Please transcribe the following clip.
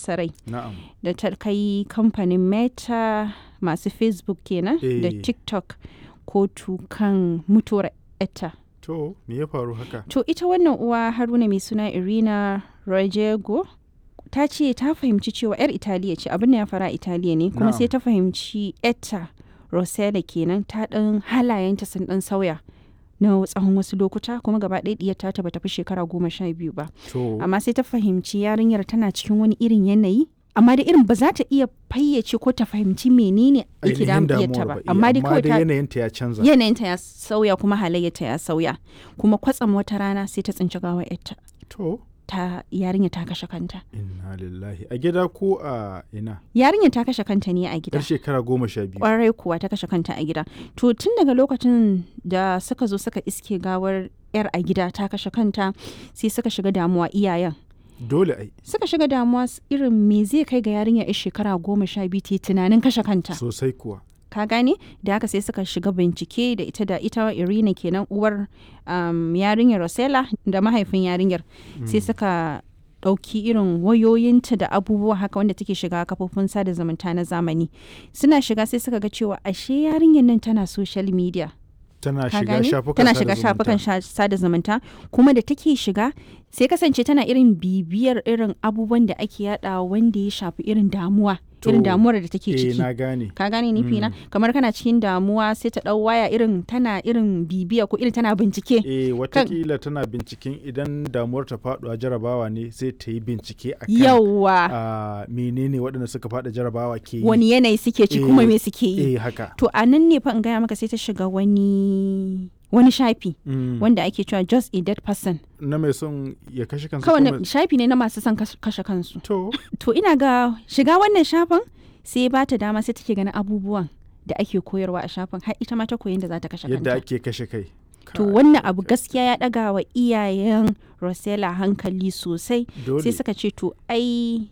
sosa rai Na'am. da ta kai kamfanin Meta masu Facebook kenan da TikTok kotu kan mutuwar etta. To, me ya faru haka? To ita wannan uwa Haruna mai suna Irina Rojego ta ce ta fahimci cewa 'yar Italiya ce, abin da ya fara Italiya ne kuma sai ta fahimci etta Rosella kenan ta ɗan halayenta sun ɗan sauya na tsawon wasu lokuta, kuma gaba ɗaya ɗiyar ta bata fi shekara 12 ba. Amma sai ta fahimci yarinyar tana cikin wani irin yanayi, amma da irin ba za ta iya fayyace ko ta fahimci menene yake Ainihin damun ɗiyarta damuwar ba. ba. Amma dai kawai dai ta yanayinta ya canza. yanayinta ya sauya kuma halayyarta ya sauya, kuma kwatsam wata rana sai ta tsinci gawar yarta. To, Ta yarinya ta kashe kanta. Inna lillahi. A gida ko a ina? Yarinya ta kashe kanta ne a gida. Yar shekara 12. Kwarai kuwa, ta kashe kanta a gida. To tun daga lokacin da suka zo suka iske gawar yar a gida ta kashe kanta, sai suka shiga damuwa iyayen. Dole ai. Suka shiga damuwa irin me zai kai ga yarinya yar shekara 12 ta yi tunanin kashe kanta. Sosai kuwa. Ka gane? Da haka sai suka shiga bincike da ita Irina kenan, uwar yarinyar Rosella da mahaifin yarinyar, sai suka ɗauki irin wayoyinta da abubuwa haka wanda take shiga kafofin sada zumunta na zamani. Suna shiga sai suka ga cewa ashe yarinyar nan tana social media. Tana Ka shiga gane? shafukan Tana sada shiga zumunta. shafukan sada zumunta, kuma da take shiga sai kasance tana irin bibiyar irin abubuwan da ake yada wanda ya shafi irin damuwa, irin To, damuwar da take ciki. Na gane. Ka gane nufi na? Kamar kana cikin damuwa sai ta dau waya, irin tana irin bibiya ko irin tana bincike. Eh, watakila tana binciken idan damuwar ta faɗuwa jarabawa ne, sai ta yi bincike akan Yawwa, a menene waɗanda suka faɗi jarabawa ke yi. Wani yanayi suke ci kuma me suke yi. Eh, haka. To a nan ne fa in gaya maka sai ta shiga wani shafi wanda ake cewa Just a Dead Person. Na mai son ya kashe kansa. Kawai ko mai- shafi ne na masu son kashe kansu. To, To ina ga shiga wannan shafin sai ba ta dama, sai take ganin abubuwan da ake koyarwa a shafin, har ita ma ta koyi yadda za ta kashe yadda kanta. ake kashe kai. To Kai, wannan abu gaskiya ya ɗaga wa iyayen Rosella hankali sosai. Dole. Sai suka ce to ai